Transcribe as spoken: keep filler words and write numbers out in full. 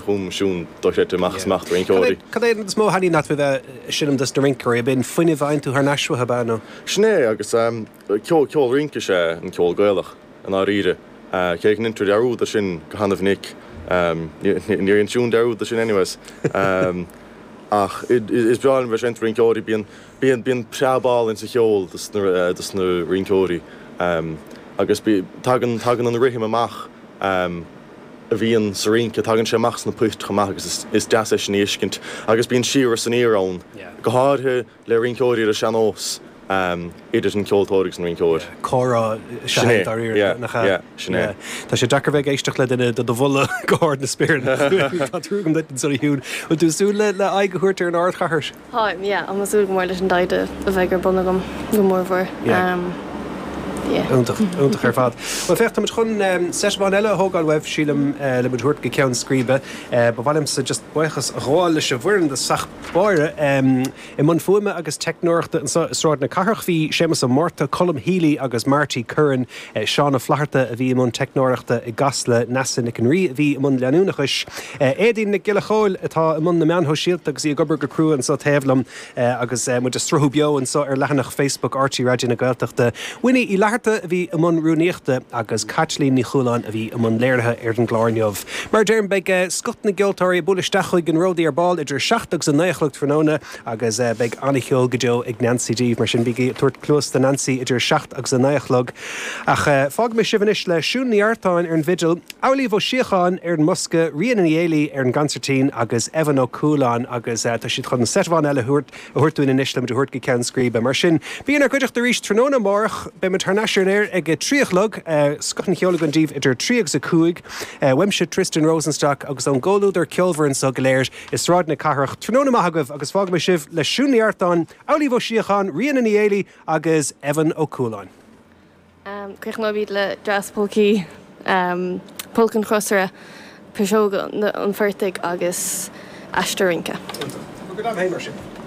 Chum Siún dochreidte amach is amach do rinceoirí. Cad é is mó a thaitníonn leat faoi bheith ag seinm dos na rinceoirí? Ab in fuinneamh a fhaigheann tú thar n-ais uathu, ab ea, nó? Sin é, agus ceol, ceol rince is ea an ceol Gaelach, i ndáiríre. Cé go ndeintear dearúd de sin go hana-mhinic, níor dhein Siún dearúd de sin anyways. Ach is breá liom bheith ag seinnt do rinceoirí, bíonn, bíonn, bíonn preab álainn sa cheol dos na, dos na rinceoirí. Agus tagann, tagann an rithim amach. a bhíonn sa rince, tagann sé amach sna poist chomh maith agus is deas é sin a fheiscint. Agus bíonn siar is aniar ann, go háirithe le rinceoirí ar an sean-nós, idir an ceoltóir agus an rinceoir. Comhrá is ea é dáiríre, nach ea? Sin é. Tá sé deacair bheith ag éisteacht le duine do do mholadh go hard na spéire. Tá trua agam duit ansan a Shiún. Bhfuil tú ag súil le aghaidh a thabhairt ar an ardchathair? Táim, yeah. Tá mé ag súil go mór leis an dtaighde a bheidh ar bun agam, go mórmhór. Yeah. Yeah. Iontach, iontach ar fad. Bhuel, féach, táimid chun seit amháin eile a thógáil uaibh, sílim, le muid a thabhairt go ceann scríbe. Ba mhaith liomsa just buíochas a ghabháil leis an bhfoireann i dtosach báire. I mbun fuaime agus teicneoireachta anseo i Sráid na Cathrach bhí Séamus Ó Márta, Colm Healy agus Marty Curran. Seán Ó Flatharta a bhí i mbun teicneoireachta i gCasla, Neasa Nic an Rí a bhí i mbun leanúnachais. Éadaoin Nic Giolla Chóill atá i mbun na meán shóisialta agus í ag obair go crua anseo taobh liom agus muid ag sruthú beo anseo ar leathanach Facebook RTÉ Raidió na Gaeltachta. Winnie Uí Fhlatharta a bhí i mbun rúnaíochta agus Caitlín Ní Chualáin a bhí i mbun léirithe ar an gclár inniu. Mar a deirim, beidh scoth na gceoltóirí ag bualadh isteach chuig an Ródaí ar ball idir a seacht agus a naoi a chlog tráthnóna agus beidh an-cheol go deo ag Nancy daoibh, mar sin bígí ag tabhairt cluas do Nancy idir a seacht agus a naoi a chlog. Ach fágfaidh mé sibh anois le Siún Ní Artáin ar an bhfidil, Amhlaoibh Ó Síocháin ar an mbosca, Ríona Ní Éilí ar an gconsairtín agus Evan Ó Cualáin agus tá siad chun seit amháin eile a thabhairt dúinn anois le muid a thabhairt go ceann scríbe. Mar sin, bí inár gcuideachta arís tráthnóna amárach. Beidh muid thar n-ais ar an aer ag a trí a chlog. Scoth an cheoil againn daoibh idir a trí agus a cúig. Uaimse Tristan Rosenstock agus ón gcomhluadar ceolmhar anseo go léir i Sráid na Cathrach. Tráthnóna maith agaibh agus fágfaidh mé sibh le Siún Ní Artáin, Amhlaoibh Ó Síocháin, Ríona Ní Éilí agus Evan Ó Cualáin. Críochnóimid le Dreas Polcaí, Polca an Chrosaire, Piseoga an Phortaigh agus Aistear Rince. Iontach. Go dtí mar sin.